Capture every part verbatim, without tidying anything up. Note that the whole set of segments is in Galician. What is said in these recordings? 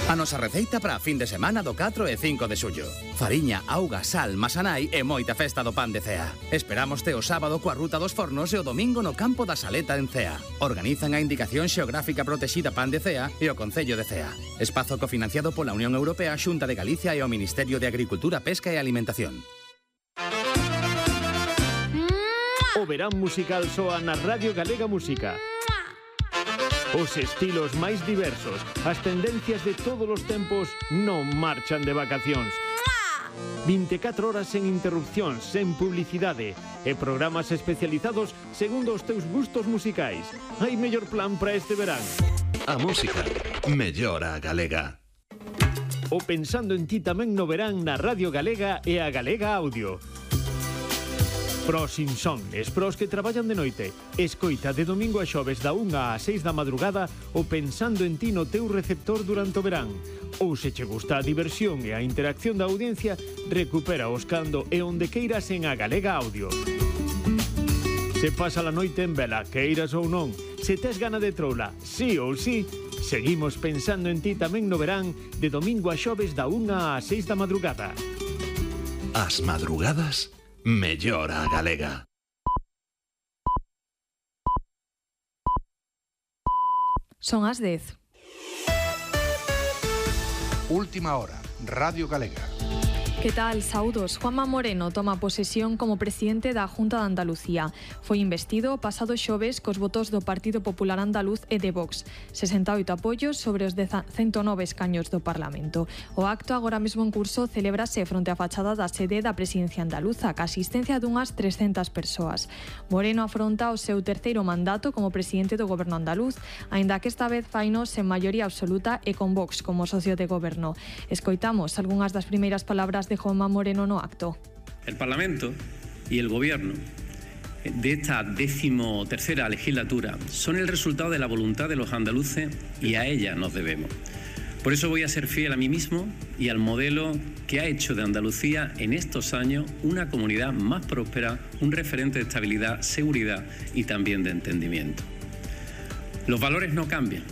A nosa receita para a fin de semana do catro e cinco de xullo. Fariña, auga, sal, masanai e moita festa do pan de Cea. Esperámoste o sábado coa ruta dos fornos e o domingo no campo da Saleta en Cea. Organizan a Indicación Xeográfica Protexida Pan de Cea e o Concello de Cea. Espazo cofinanciado pola Unión Europea, Xunta de Galicia e o Ministerio de Agricultura, Pesca e Alimentación. O verán musical soa na Radio Galega Música. Os estilos máis diversos, as tendencias de todos os tempos non marchan de vacacións. vinte e catro horas sen interrupcións, sen publicidade e programas especializados segundo os teus gustos musicais. Hai mellor plan para este verán. A música mellora a galega. O Pensando en ti tamén no verán na Radio Galega e a Galega Audio. Pros insomnes, pros que traballan de noite. Escoita de domingo a xoves da unha a seis da madrugada o Pensando en ti no teu receptor durante o verán. Ou se che gusta a diversión e a interacción da audiencia, recupera os cando e onde queiras en a Galega Audio. Se pasa a noite en vela, queiras ou non, se tes gana de troula, sí ou sí, seguimos Pensando en ti tamén no verán de domingo a xoves da unha a seis da madrugada. As madrugadas mellora a galega. Son as dez. Última hora, Radio Galega. Que tal? Saúdos. Juanma Moreno toma posesión como presidente da Junta de Andalucía. Foi investido pasado xoves cos votos do Partido Popular Andaluz e de Vox. sesenta e oito apoios sobre os ciento nove escaños do Parlamento. O acto agora mesmo en curso celébrase fronte á fachada da sede da presidencia andaluza, ca asistencia dunhas trescentas persoas. Moreno afronta o seu terceiro mandato como presidente do goberno andaluz, aínda que esta vez faino sen maioría absoluta e con Vox como socio de goberno. Escoitamos algunhas das primeiras palabras de Juanma Moreno no acto. El Parlamento y el Gobierno de esta decimotercera legislatura son el resultado de la voluntad de los andaluces y a ella nos debemos. Por eso voy a ser fiel a mí mismo y al modelo que ha hecho de Andalucía en estos años una comunidad más próspera, un referente de estabilidad, seguridad y también de entendimiento. Los valores no cambian.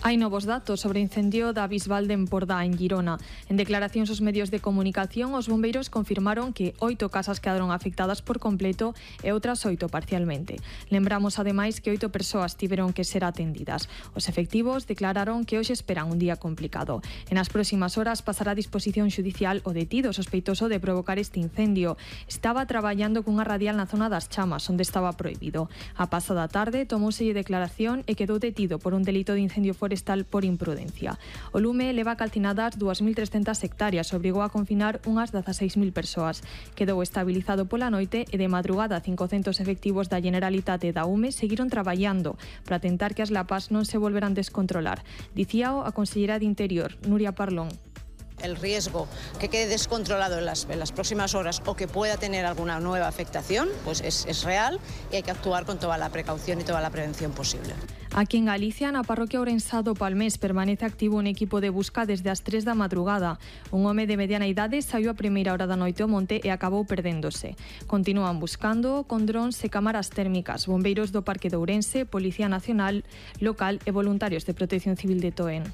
Hai novos datos sobre o incendio da Bisbal de Empordá, en Girona. En declaracións aos medios de comunicación, os bombeiros confirmaron que oito casas quedaron afectadas por completo e outras oito parcialmente. Lembramos, ademais, que oito persoas tiveron que ser atendidas. Os efectivos declararon que hoxe esperan un día complicado. En as próximas horas pasará a disposición xudicial o detido sospeitoso de provocar este incendio. Estaba traballando cunha radial na zona das Chamas, onde estaba prohibido. A pasada tarde tomouselle declaración e quedou detido por un delito de incendio forestal por imprudencia. O lume leva calcinadas dúas mil trescentas hectáreas, obrigou a confinar unhas dezaseis mil persoas. Quedou estabilizado pola noite e de madrugada cincocentos efectivos da Generalitate e da U M E seguiron traballando para tentar que as lapas non se volveran descontrolar. Dicíao a consellera de Interior, Nuria Parlón. El riesgo que quede descontrolado en las, en las próximas horas o que pueda tener alguna nueva afectación, pues es, es real y hay que actuar con toda la precaución y toda la prevención posible. Aquí en Galicia, na parroquia Ourensá do Palmés, permanece activo un equipo de busca desde as tres da madrugada. Un home de mediana idade saiu a primeira hora da noite ao monte e acabou perdéndose. Continúan buscando con drons e cámaras térmicas, bombeiros do Parque de Ourense, Policía Nacional, local e voluntarios de Protección Civil de Toén.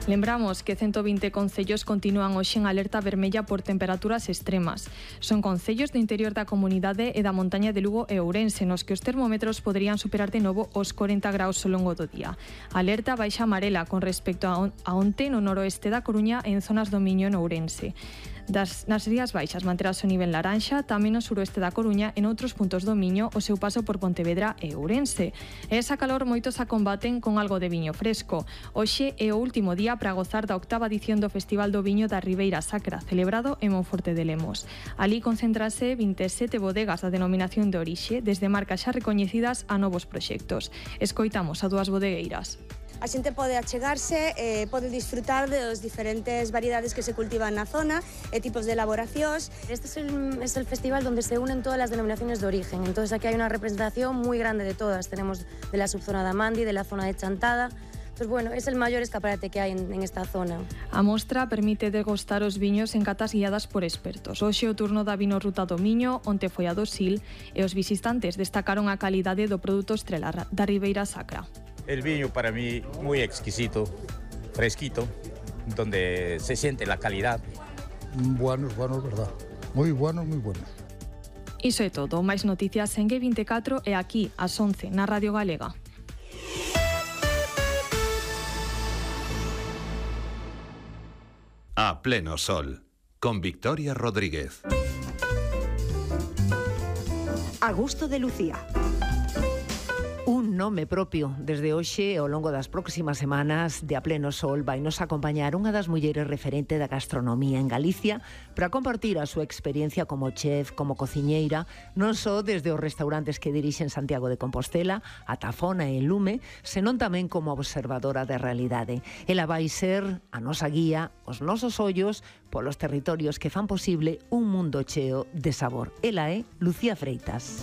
Lembramos que ciento vinte concellos continúan hoxe en alerta vermella por temperaturas extremas. Son concellos do interior da comunidade e da montaña de Lugo e Ourense, nos que os termómetros poderían superar de novo os corenta graus ao longo do día. Alerta baixa amarela con respecto a, on a onte no noroeste da Coruña e en zonas do Miño no Ourense. Das, nas Rías Baixas manterás o nivel laranxa, tamén no suroeste da Coruña e noutros puntos do Miño o seu paso por Pontevedra e Ourense. E esa calor moitos a combaten con algo de viño fresco. Hoxe é o último día para gozar da octava edición do Festival do Viño da Ribeira Sacra, celebrado en Monforte de Lemos. Alí concéntrase vinte e sete bodegas da denominación de orixe, desde marcas xa recoñecidas a novos proxectos. Escoitamos a dúas bodegueiras. A xente pode achegarse, eh, pode disfrutar das diferentes variedades que se cultivan na zona e tipos de elaboracións. Este es el, es el festival donde se unen todas las denominaciones de origen, entonces aquí hay una representación muy grande de todas. Tenemos de la subzona de Amandi, de la zona de Chantada. Entonces, bueno, es el mayor escaparate que hai en, en esta zona. A mostra permite degustar os viños en catas guiadas por expertos. Hoxe o turno da Vino Ruta do Miño, onte foi a do Sil, e os visitantes destacaron a calidade do produto estrela da Ribeira Sacra. el viño para mí muy exquisito, fresquito, donde se siente la calidad. Buenos, buenos, verdad. Muy buenos, muy buenos. Iso é todo, máis noticias en G veinticuatro e aquí ás once na Radio Galega. A pleno sol, con Victoria Rodríguez. A gusto de Lucía. Un nome propio. Desde hoxe, ao longo das próximas semanas de A Pleno Sol, vai nos acompañar unha das mulleres referente da gastronomía en Galicia para compartir a súa experiencia como chef, como cociñeira, non só desde os restaurantes que dirixe en Santiago de Compostela, a Tafona e Lume, senón tamén como observadora da realidade. Ela vai ser a nosa guía, os nosos ollos, polos territorios que fan posible un mundo cheo de sabor. Ela é Lucía Freitas.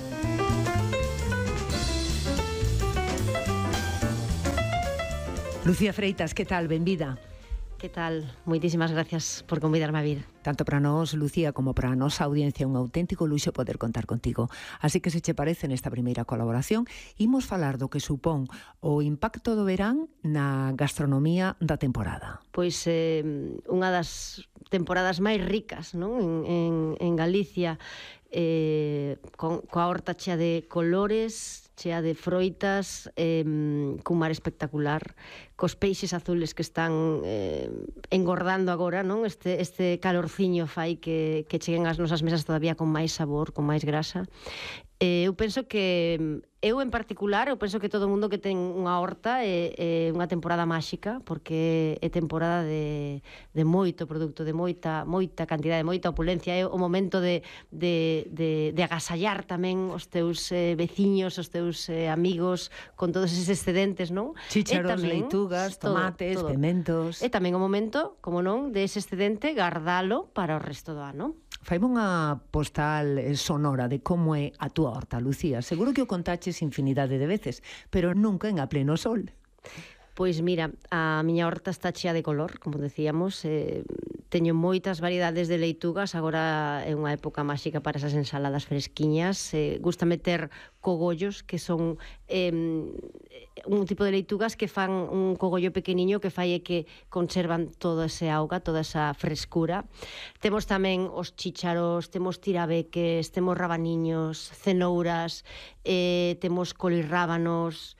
Lucía Freitas, que tal? Benvida. Que tal? Moitísimas gracias por convidarme a vir. Tanto para nós, Lucía, como para a nosa audiencia, un auténtico luxo poder contar contigo. Así que se che parece nesta primeira colaboración, imos falar do que supón o impacto do verán na gastronomía da temporada. Pois eh, unha das temporadas máis ricas, non? En, en, en Galicia, eh, con, coa horta chea de colores, chea de froitas, eh, cun mar espectacular, cos peixes azules que están eh, engordando agora, non? Este, este calorciño fai que, que cheguen ás nosas mesas todavía con máis sabor, con máis grasa. Eh, eu penso que, eu en particular, eu penso que todo o mundo que ten unha horta é, é unha temporada máxica, porque é temporada de, de moito produto, de moita moita cantidade, de moita opulencia, é o momento de, de, de, de agasallar tamén os teus eh, veciños, os teus eh, amigos, con todos eses excedentes, non? Chícharos, tamén, leitugas, tomates, todo, todo. Pementos... É tamén o momento, como non, de ese excedente gardalo para o resto do ano. Faime unha postal sonora de como é a túa horta, Lucía. Seguro que o contaches infinidade de veces, pero nunca en A Pleno Sol. Pois mira, a miña horta está chea de color, como decíamos, eh, teño moitas variedades de leitugas, agora é unha época máxica para esas ensaladas fresquiñas, eh, gusta meter cogollos, que son eh, un tipo de leitugas que fan un cogollo pequeniño que fai é que conservan todo ese auga, toda esa frescura. Temos tamén os chícharos, temos tirabeques, temos rabaniños, cenouras, eh, temos colirrábanos,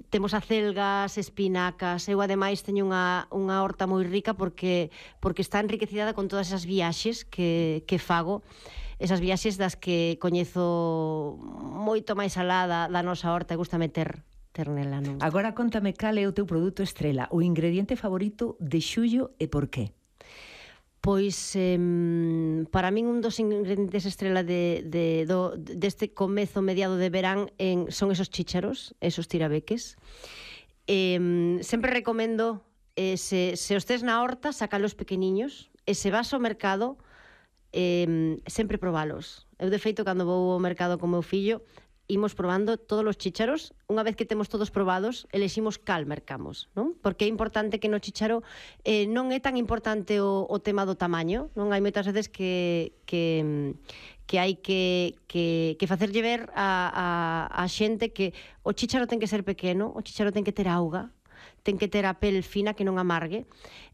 temos acelgas, espinacas. Eu ademais teño unha, unha horta moi rica porque porque está enriquecida con todas esas viaxes que, que fago, esas viaxes das que coñezo moito máis alá da, da nosa horta e gusta meter ter nela, non? Agora contame cal é o teu produto estrela, o ingrediente favorito de xullo e por qué? Pois, eh, para min un dos ingredientes estrela de, de, do, deste comezo mediado de verán en, son esos chícharos, esos tirabeques. Eh, sempre recomendo, eh, se, se os tes na horta, sacalos pequeniños, e se vas ao mercado, eh, sempre probalos. Eu, de feito, cando vou ao mercado con meu fillo, imos probando todos os chícharos. Unha vez que temos todos probados, eleximos cal mercamos, non? Porque é importante que no chícharo eh, non é tan importante o, o tema do tamaño, non? Hai moitas veces que, que, que hai que, que, que facerlle ver a, a, a xente que o chícharo ten que ser pequeno, o chícharo ten que ter auga, ten que ter a pel fina que non amargue,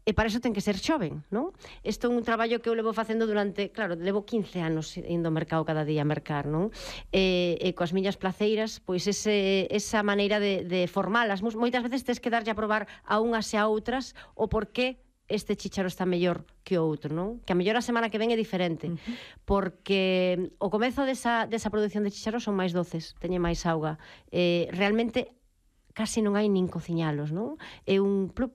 e para iso ten que ser xoven, non? Isto é un traballo que eu levo facendo durante, claro, levo quince anos indo ao mercado cada día a mercar, non? E, e coas miñas placeiras, pois ese, esa maneira de, de formalas, moitas veces tes que darlle a probar a unhas e a outras o porqué este chícharo está mellor que o outro, non? Que a mellor a semana que ven é diferente, uh-huh. porque o comezo desa, desa produción de chícharos son máis doces, teñen máis auga. Eh, realmente casi non hai nin cociñalos, non? É un plup,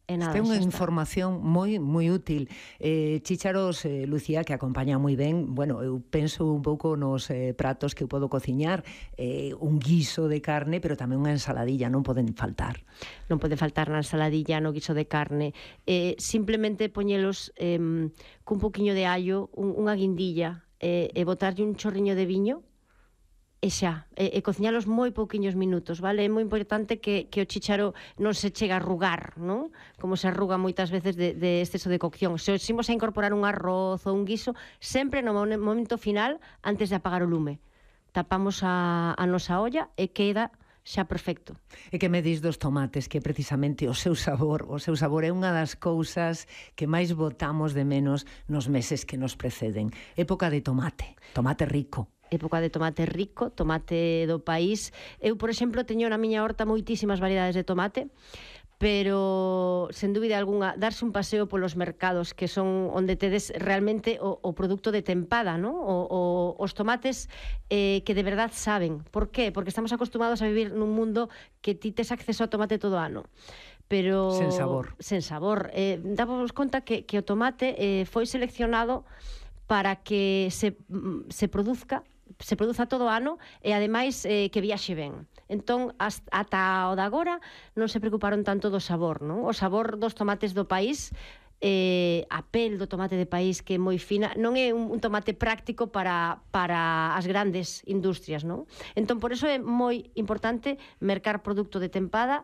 e nada. Esta é unha información moi moi útil. Eh, chícharos, eh, Lucía, que acompaña moi ben, bueno, eu penso un pouco nos eh, pratos que eu podo cociñar, eh, un guiso de carne, pero tamén unha ensaladilla, non poden faltar. Non pode faltar na ensaladilla, no guiso de carne. Eh, simplemente poñelos eh, cun poquinho de allo, un, unha guindilla, eh, e botarlle un chorriño de viño, e xa, e, e cociñalos moi pouquiños minutos, vale? É moi importante que, que o chícharo non se chega a arrugar, non? Como se arruga moitas veces de, de exceso de cocción. Se os imos a incorporar un arroz ou un guiso, sempre no momento final, antes de apagar o lume. Tapamos a, a nosa olla e queda xa perfecto. E que me dis dos tomates, que precisamente o seu sabor, o seu sabor é unha das cousas que máis botamos de menos nos meses que nos preceden. Época de tomate, tomate rico. Época de tomate rico, tomate do país. Eu, por exemplo, teño na miña horta moitísimas variedades de tomate, pero, sen dúbida algunha, darse un paseo polos mercados que son onde tedes realmente o, o produto de tempada, ¿no? O, o, os tomates eh, que de verdad saben. Por qué? Porque estamos acostumados a vivir nun mundo que ti tes acceso ao tomate todo o ano. Pero... Sen sabor. Sen sabor. Eh, dábamos conta que, que o tomate eh, foi seleccionado para que se, se produzca se produza todo o ano e ademais eh, que viaxe ben. Entón, hasta, ata o de agora non se preocuparon tanto do sabor, non? O sabor dos tomates do país, eh, a pel do tomate de país que é moi fina, non é un, un tomate práctico para, para as grandes industrias, non? Entón, por eso é moi importante mercar produto de tempada